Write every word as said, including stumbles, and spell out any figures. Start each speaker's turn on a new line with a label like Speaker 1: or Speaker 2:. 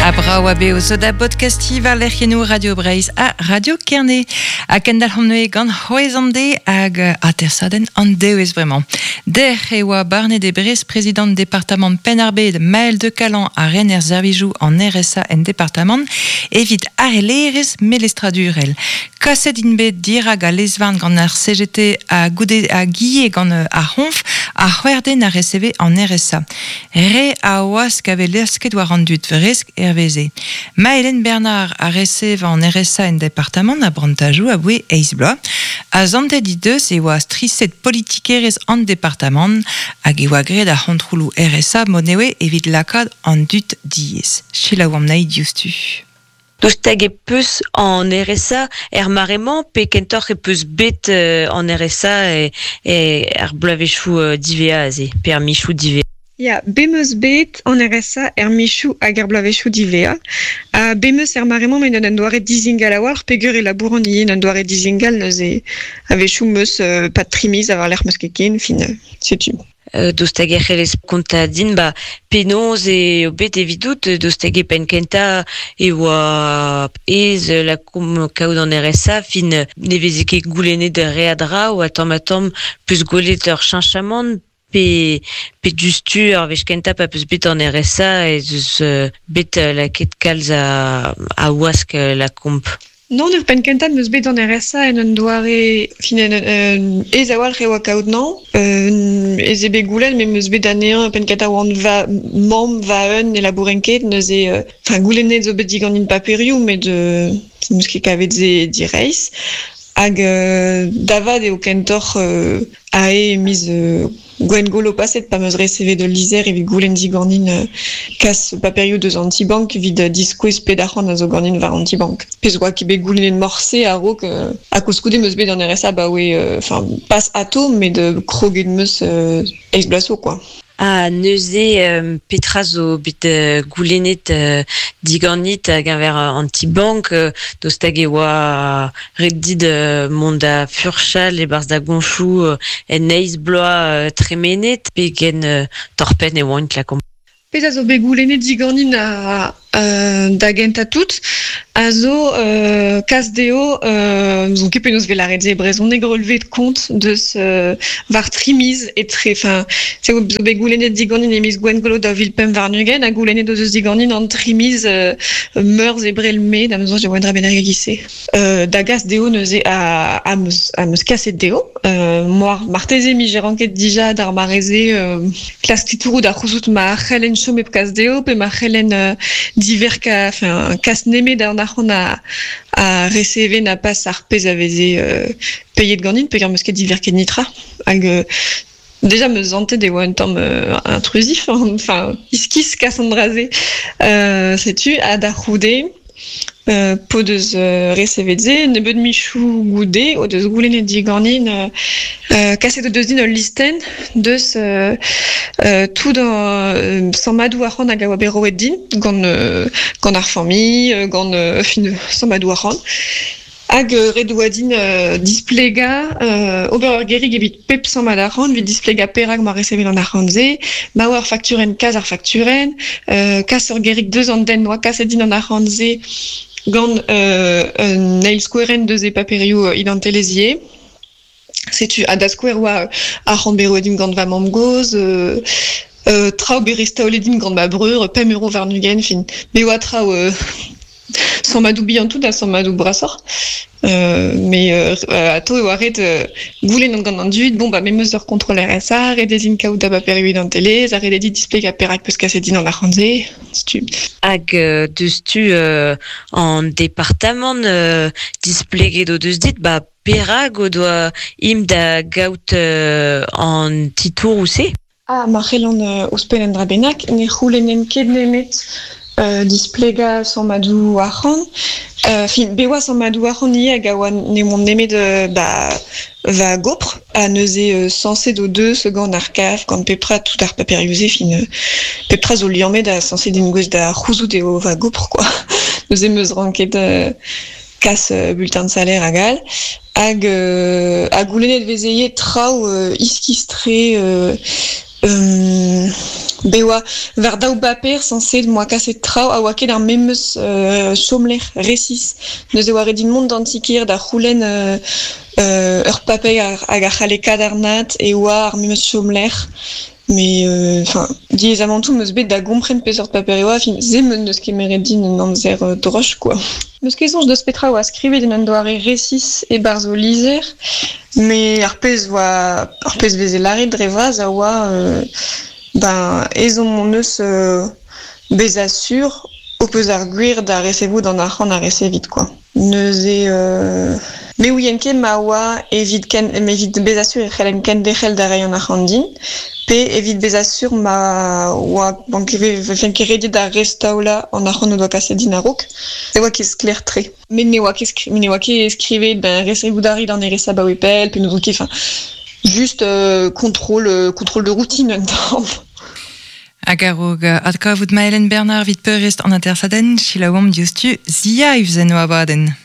Speaker 1: A brao a beo zo da podcasti war lec'hiennoù Radio Breizh ha Radio Kerne. Ha kendal hon neue gant c'hwez an de hag atersadenn an dewez bremañ. Derc'h e oa barnet e Brest prezident departamant Penn-ar-Bed Maël de Calan a rener servijoù an R S A en departamant evit arelerez melestradurel. Kaset int bet dirag a lezvarn gant ar C G T a goude a guie gant ar c'honf a c'hwerden a receve an R S A. Re a oaz kave lesket war an dud vresk erveze. Maëlen Bernard a receve an R S A en departamant a brantajou a boe eiz bloaz. A zantet i deus e oa striset politikerez an departamant hag e oa graet ar c'hontroloù R S A monewe evit lakaat an dud diez. Selaou am nahi diouzhtu.
Speaker 2: Daoust hag e peus an R S A er maremañ pe kentoc'h e peus bet euh, an R S A e, e ar bloavezhioù euh, divea aze, pe ar michoù divea.
Speaker 3: Ya, bemeus bet an R S A er michoù hag ar bloavezhioù divea. Ha bemeus er maremañ met an doare dizingal a-walc'h peogwir e labouran ivez an doare dizingal neuze a-wechoù meus euh, pas trimiz a war lec'h meus ket ken, fin, euh, setu.
Speaker 2: Euh, daoust hag e c'hellez kontañ din, ba, penaos eo bet evidout, daoust hag e penn kentañ e oa ez la kom kaout an R S A, fin ne veze ket goulennet re a dra, oa tamm ha tamm peus gwelet ur cheñchamant, pe, pe diouzhtu ar wech kentañ pa peus bet an R S A ez eus, euh, bet lakaet kalz a, a wask la komp.
Speaker 3: Non, ur penn kentañ meus bet an R S A en un doare, fin, en un, un, ez a-walc'h e oa kaout nañ. Euh, ez eo bet goulenn, met meus bet anezhañ penn kentañ oan va mamm va un e labouren ket, neuze, euh, enfin, goulennet zo bet diganin paperioù, met, euh, meus ket kavet se direizh. Hag, euh, davad eo kentoc'h, euh, ae miz, euh, Gwengolo paset pa meus receve de lizer evit goulenn diganin, euh, kas paperioù deus antibank evit, euh, diskouez ped arc'hant a zo ganin war antibank. Pezh oa ket bet goulennet morse a-raok, euh, ha koulskoude meus bet an R S A ba oe, euh, enfin, pas ato, met de kroget meus, euh, eiz bloaz zo, quoi.
Speaker 2: Ha neuze, euh, petra zo bet, euh, goulennet, euh, diganit hag envers, euh, antibank, euh, daoust hag e oa ret dit, euh, mont da furchal e-barzh da goñchoù, euh, en eiz bloaz, euh, tremenet, pe gen, euh, torpenn e oant la komp.
Speaker 3: Pezh a zo bet goulennet diganin a, euh, da gentañ tout, a zo, euh, kas dezho, euh, zo ket penaos vel aret se brezhoneg relevé de compte deus, euh, war trimiz etre, enfin, se zo bet goulennet diganin e miz Gwengolo da vil pemp warn-ugent, ha goulennet deus diganin an trimiz, euh, meurzh ebrel mae, da meus soñj e oa un dra bennak e-giz-se. Euh, da gas dezho neuze a, a meus, a meus kaset dezho. Euh, moar, marteze mi j'ai ranket dija d'ar mareze, euh, klask titouroù da c'houzout ma c'hellen chom hep kas dezho, pe ma c'hellen, euh, diverka, enfin, kas nemet an arc'hant a, a receve na pas ar pezh a veze, euh, peiet ganin, peogwir meus ket diverket nitra. Hag, euh, déjà me zantet e oa un tamm, euh, intrusif, hein, enfin, iskis kas an dra-se. Euh, setu, ha da c'houde, euh, po deus, euh, recevet se, nebeut michoù goude, o deus goulennet diganin, euh, euh, kaset o deus din ul listenn deus, euh, euh, tout an, euh, sammadoù arc'hant hag a oa bet roet din, gant, euh, gant ar familh, euh, gant, euh, fin, sammadoù arc'hant. Hag, euh, ret oa din, euh, displegañ, euh, ober ur gerig evit pep sammad arc'hant, evit displegañ perak ma recevet an arc'hant-se, ma oa ur fakturenn, kas ar fakturenn, euh, kas ur gerig deus an den oa kaset din an arc'hant-se gant, euh, un eil skouerenn deus e paperioù, euh, identelezhier. Setu, ha da skouer oa, euh, arc'hant bet roet din gant va mamm-gozh, euh, euh, traoù bet restaolet din gant ma breur, pemp euro warn-ugent, fin. Bet oa traoù, euh, sammadoù bihan tout ha sammadoù brasoc'h. Euh, mais, euh, euh, ato e oa ret, euh, goulenn gant an dud, bon, ba, me meus ur contrôle R S A, ret ez int kaout da baperioù identelezh, ha ret eo dit displegañ perak peus kaset din an arc'hant-se, setu.
Speaker 2: Hag, euh, deus-tu, euh, an departamant, euh, displeget o deus dit, ba, perak o doa im da gaout, euh, an titour ou se?
Speaker 3: Ah, ma c'hellan, euh, ouzhpenn an dra bennak, ne c'houlennen ket nemet, euh, displegañ sammadoù arc'hant. Euh, fin, bet oa sammadoù arc'hant ivez hag a oa ne oant nemet, euh, ba, va gopr, ha neuze, euh, sañset o deus gant ar kaf, gant pepra tout ar paperioù-se, fin, euh, pepra zo liammet ha sañset din gouez da c'houzout eo va gopr, quoi. Neuze meus ranket, euh, kas, euh, bulletin de salaire hag all. Hag, euh, ha goulennet vezeye traoù, euh, iskis-tre, euh, Euh, be oa war daou baper sañset moa kaset traoù a oa ket ar memes euh, chomlec'h resis. Neuze oa ret din mont d'an ti-kêr da c'houlenn euh, euh, ur paper hag a c'halle kadarnaat e oa ar memes chomlec'h. Mais enfin, euh, diaezamantoù 'm eus bet da gompren peseurt paper e oa, fin se 'm eus kemeret din un amzer euh, droch quoi. 'Meus ket soñj deus petra oa skrivet en un doare resis e-barzh o lizher, met ar pezh oa ar pezh veze lâret dre vras a oa euh, ben ezhomm hon eus euh, bezañ sur ho peus ar gwir da resevout an arc'hant a resevit quoi. Neuze euh, me ouien ket ma oa evit ken evit bezañ sur e c'hellen kenderc'hel da reiñ an arc'hant din, pe evit bezañ sur ma oa bank vefen ket rediet da restaolañ an arc'hant o doa kaset din a-raok. Se oa ket sklaer-tre. Met ne oa ket ne oa ket skrivet ben resevout a rit an R S A baoe pell, pe n'ouzon ket, enfin juste euh, contrôle, euh, contrôle de routine un tamm.
Speaker 1: Hag a-raok adkavout Maëlenn Bernard 'vit peurrest an atersadenn, selaouomp diouzhtu The Hives en o abadenn.